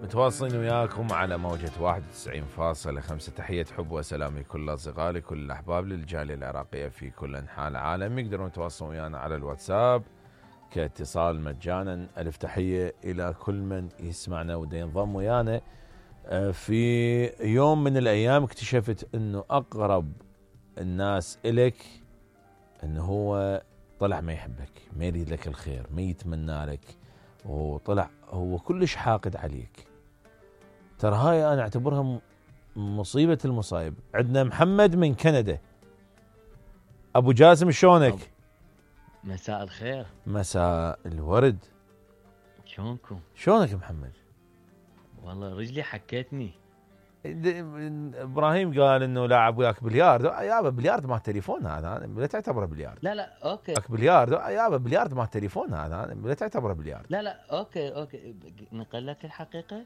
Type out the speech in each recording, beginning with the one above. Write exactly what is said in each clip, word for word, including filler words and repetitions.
متواصلين وياكم على موجة واحد وتسعين فاصلة خمسة. تحية حب وسلام لكل أصدقائي لكل الأحباب للجالية العراقية في كل أنحاء العالم. يقدرون يتواصلون ويانا على الواتساب كاتصال مجانا. ألف تحية إلى كل من يسمعنا وده ينضم ويانا. في يوم من الأيام اكتشفت أنه أقرب الناس إلك أنه هو طلع ما يحبك، ما يريد لك الخير، ما يتمنى لك، وطلع هو كلش حاقد عليك. ترى هاي أنا أعتبرها مصيبة المصايب. عندنا محمد من كندا. أبو جاسم شلونك؟ مساء الخير. مساء الورد. شلونكم؟ شلونك محمد؟ والله رجلي حكتني. ابراهيم قال انه لاعب وياك بلياردو. يابا بلياردو ما تليفون هذا، لا تعتبره بلياردو. لا لا اوكي. وياك بلياردو يابا بلياردو ما تليفون هذا، لا تعتبره بلياردو. لا لا اوكي اوكي نقول لك الحقيقه.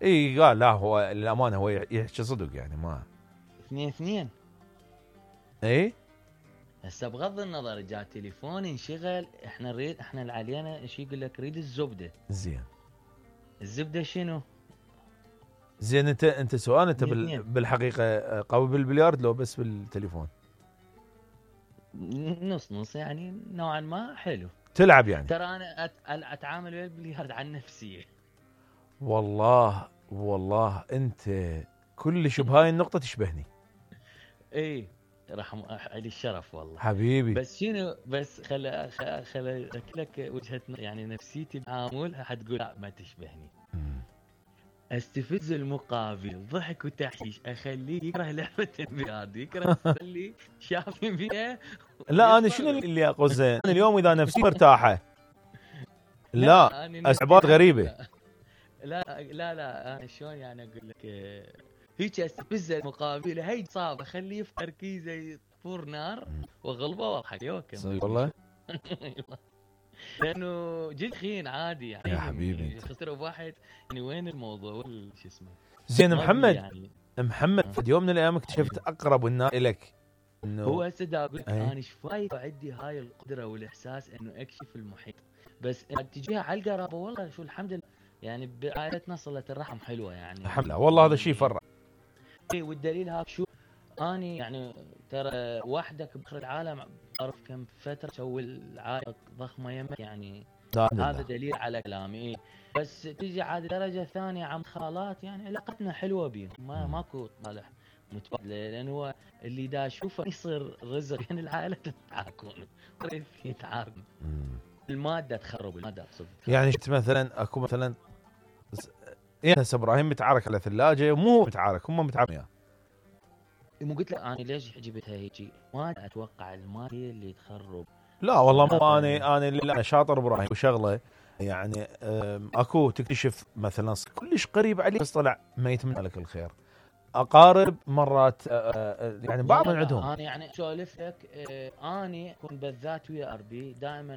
اي قال لا هو الامانه هو يحكي صدق يعني ما اثنين اثنين. اي هسه بغض النظر جاء تليفون انشغل، احنا نريد احنا اللي علينا ايش يقول لك ريد الزبده. زين الزبده شنو؟ زين انت انت سؤال انت بال... بالحقيقه قوي بالبليارد لو بس بالتليفون؟ نص نص يعني نوعا ما حلو. تلعب يعني؟ ترى انا أت... اتعامل ويا البليارد عن نفسي. والله والله انت كلش بهاي النقطه تشبهني. اي رحم علي الشرف والله حبيبي. بس شنو بس خل خل لك وجهه يعني نفسيتي بعاملها حتقول لا ما تشبهني. م. استفز المقابل ضحك وتحشيش، اخليه يكره لعبه البلياردو، يكره اللي شاف فيها. لا انا شنو اللي اقول زين اليوم اذا نفسي مرتاحه لا, لا اسعبات غريبه. لا لا لا انا شلون يعني اقول لك هيك استفز المقابل هي صعبه، اخليه في تركيزه يطفر نار واغلبه واضحك يوكم. صدق والله لانه جد خين عادي يعني يا حبيبي خسر بواحد يعني وين الموضوع شو اسمه. زين محمد يعني. محمد في يوم من الايام اكتشفت اقرب الناس الك انه هو هسه اقول لك انا ايش فايد عندي هاي القدره والاحساس انه اكشف المحيط، بس تجيها على القرابه والله شو الحمد لله يعني بعائلتنا صله الرحم حلوه يعني الحمد لله والله هذا شيء فرح. اي والدليل هاك شو اني يعني ترى وحدك باخر العالم اعرف كم فتره تسوي العائله ضخمه يمك يعني هذا دليل على كلامي. بس تجي عاد درجه ثانيه عم خالات يعني علاقتنا حلوه بيهم ما ماكو طالح متبادله، لان هو اللي دا اشوفه يصير رزق يعني العائله تتعاركون يتعاركون الماده تخرب الماده اقصد يعني شفت مثلا اكو مثلا يعني هسه ابراهيم متعارك على ثلاجه مو متعارك هم متعاركين. مو قلت لك انا ليش جبتها هيجي ما اتوقع الماده هي اللي تخرب. لا والله مو انا انا اللي شاطر ابراهيم وشغله يعني اكو تكتشف مثلا كلش قريب عليك بس طلع ما يتمنى لك الخير. اقارب مرات يعني بعض من عندهم انا يعني اسولف لك اني اكون بالذات ويا اربي دائما